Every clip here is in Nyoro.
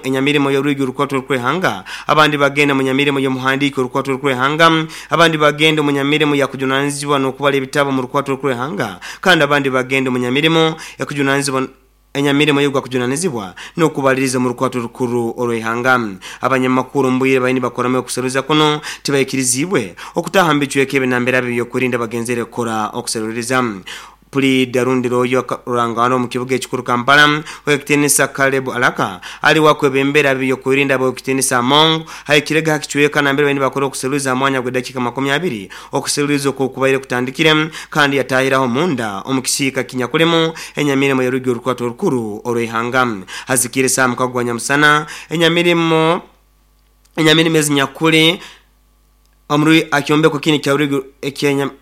Enyamirimo y'orwigi orukwato orukwehanga, abandi bagenda mu nyamirimo y'omuhandiiki orukwato orukwehanga, abandi bagenda omu nyamirimo yakujunanizibwa n'okubara ebitabo mu rukwato orukwehanga, kandi abandi bagenda omu nyamirimo ekujunanizibwa enyamirimo y'ogwakujunanizibwa n'okubaliriza omu rukwato orukuru orw'eihanga. Abanyamakuru omu bwire bali nibakoramu okuseruliza kuno tibaikirizibwe okutaaha mu bicweka ebi nambere ab'ebyokwerinda bagenzere kukora okuseruliza. Puliida rundi looya Rurangano omu kibuga ekikuru Kampala, Ow'ekitiinisa Caleb Alaka ali wakwebembera ab'ebyokwerinda ab'Ow'ekitiinisa Among ahikirege ha kicweka nambere bali nibakora okuseruliza ha mwanya gw'edakiika makumi abiri okuseruliza okwo kubaire kutandikire kandi yatahiraho munda omu kisiika kinyakulimu enyamirimo y'orwigi orukwato orukuru orw'eihanga. Hazikiire saaha mukago gwa nyamusana enyamirimo enyamirimo ezinyakuli Omuri aha kyombeko kinu ekya rwigi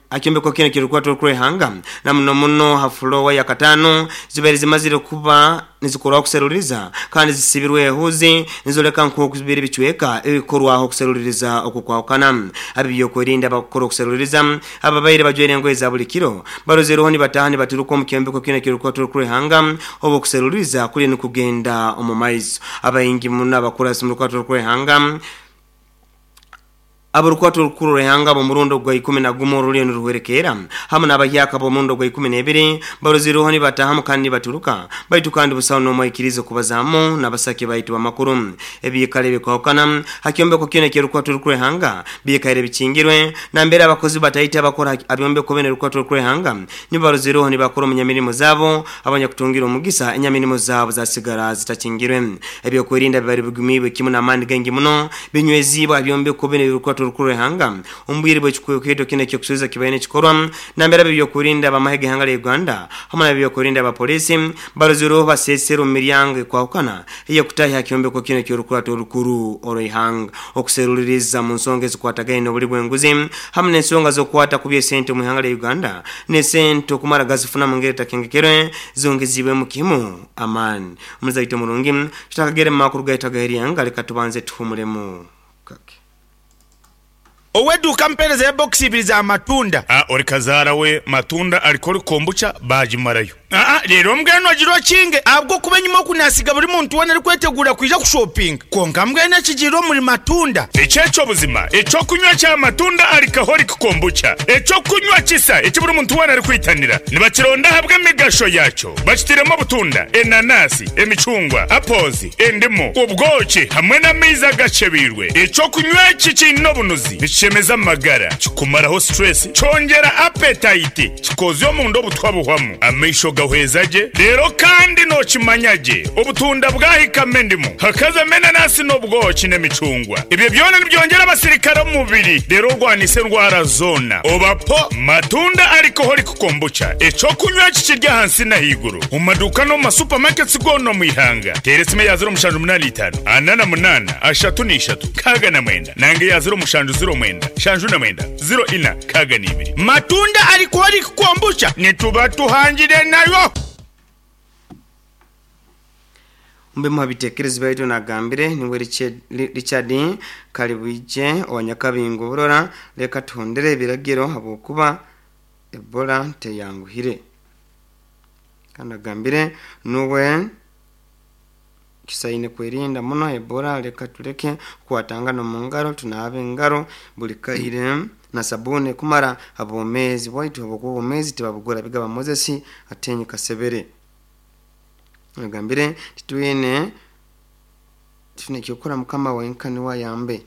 aha kyombeko kinu ekirikukwata orukwehanga na muno muno ha fuloowa ya kataano zibaire zimazire kuba nizikorwaho kuseruliriza kandi zisibirwe ehuuzi nizoreka nk'oku biri bicweka ebikorwaho okuseruliriza okw'okwahukana. Ab'ebyokwerinda abakukora okuseruliriza ababaire bajwaire engoye za buli kiro barozereho nibataaha nibaturuka omu kyombeko kinu ekirikukwata orukwehanga obu okuseruliriza kuriyo nikugenda omu maiso. Abaingi muno abakurasi omu rukwata orukwehanga Ab'orukwata orukuru orw'eihanga ab'omurundi ogwa ikumi na gumu oruliyo niruhwerekeera, hamu n'abahyaka ab'omurundi ogwa ikumi n'ebiri, barozireho nibataahamu kandi nibaturuka, baitu kandi busaho n'omu aikiriize kubazaamu n'abasaki baitu b'amakuru. Ebiikaro ebikwahukana ha kyombeko kyona eky'orukwata orukuru rw'eihanga biikaire bikingirwe, nambere abakozi bataito abakora ha byombeko binu eby'orukwata orukuru rw'eihanga nibo barozireho nibakora omu nyamirimo zaabo. Abanyakutungire omugisa, enyamirimo zaabo zasigara zitakingirwe. Ebyokwerinda bibaire bigumiibwe kimu n'amaani gaingi muno. Binyweziibwe aha byombeko binu eby'orukwata orukuru rw'eihanga omu bwire bw'ekikwekweto kinu eky'okusuubiza kibaire nikikorwa nambere ab'ebyokwerinda ab'amahe g'eihanga lya Uganda hamu n'ab'ebyokwerinda aba poliisi barozirweho baseeserwe omu miryango ekwahukana ey'okutaahi aha kyombeko kinu eky'orukurata orukuru orw'eihanga okuseruliriza mu nsonga ezikwatagaine n'obuli bw'enguzi hamu n'ensonga z'okukwata kubi esente omu ihanga lya Uganda n'esente okumara gazifuna mu ngeri etakengekerwe zongeziibwemu kimu amaani. Omuzaito murungi, tutakagere mu makuru gaitu ag'eryanga, leka tubanze tuhumulemu kake. Ow'eduuka mpeereza ya bokisi ibiri za matunda. A Ori kazaara we matunda alcoholic kombucha baagimarayo. Aa Reero mbwenu ogira okinge ahabw'okuba enyima oku naasiga buri muntu weena arikweteguura kwija kushopinga. Kwonka mbwenu ekigiire omuri matunda. Eki eky'obuzima eky'okunywa kya matunda alcoholic kombucha, eky'okunywa kisa eki buri muntu weena arikwitanira. Nibakironda ahabw'emigasho yaakyo. Bakitiremu obutunda, enanasi, emicungwa, apples, endimu, obwoki hamwe n'amaizi agacebeirwe. Eky'okunywa eki kiine obunuzi, nikishemeza amagara, kikumaraho stress, kyongyera appetite, kikozya omunda obutwa buhwamu, amaisho gahweza gye, reero kandi nokimanya gye obutunda bwahikamu endimu, hakazamu enanasi n'obwoki n'emicungwa. Ebyo byona nibyongyera abasirikare omu mubiri reero orwanise endwara zoona. Oba po matunda alcoholic Kombucha, eky'okunywa eki kiri ahansi n'ahaiguru omu maduuka n'omu ma supermarkets goona omu ihanga. Teera esimu eya 0785 48 33 69 nanga eya 0709 79 04 62. Matunda Alcoholic Kombucha nituba tuhangire nayo. Omu bimu ha bitekerezo byaitu nagambire niwe Richard Kalibwije owa Nyakabingo Burora, leka tuhondere ebiragiro habwokuba Ebola teyanguhire. Kandi agambire nuwe kisaine kwerinda muno Ebola leka tuleke kukwatangana omu ngaro, tunaabe engaro buli kaire na sabuuni ekumara habwomezi bwaitu habwokuba obwomezi tibabugura bigaba Moses Atenyi Kasebere. Agambire titwine titwine ekyokukora mukama wenka niwe ayambe.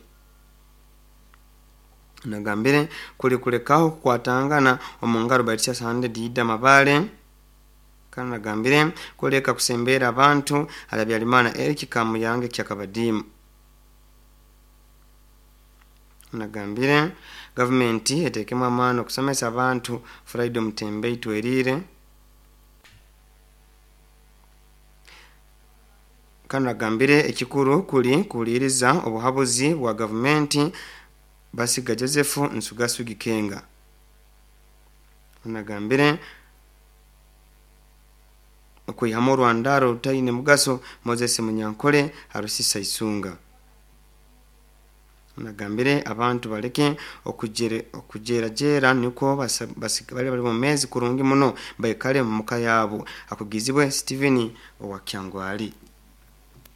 Nagambire kuli kulekaho kukwatangana omu ngaro Baitu Sande Dida Mabale kandi nagambire kuleka kusembeera abantu hali Habyarimana Eric Kamuyange Kyakabadimu. Nagambire gavumenti etekemu amaani okusomesa abantu Friday Mutembe Itwerire. Kandi agambire ekikuru kuli kuhuliiriza obuhabuzi bwa gavumenti Basiga Joseph Nsugasugi Kenga. Onu agambire okwihamu orwandaaro orutaine mugaso Moses Munyankole Harusisa Isunga. Onu agambire abantu baleke okujeerajeera nukwo basigale bali bomeezi kurungi muno baikale omuka yaabu. Akugizibwe Stephen owa Kyangwali.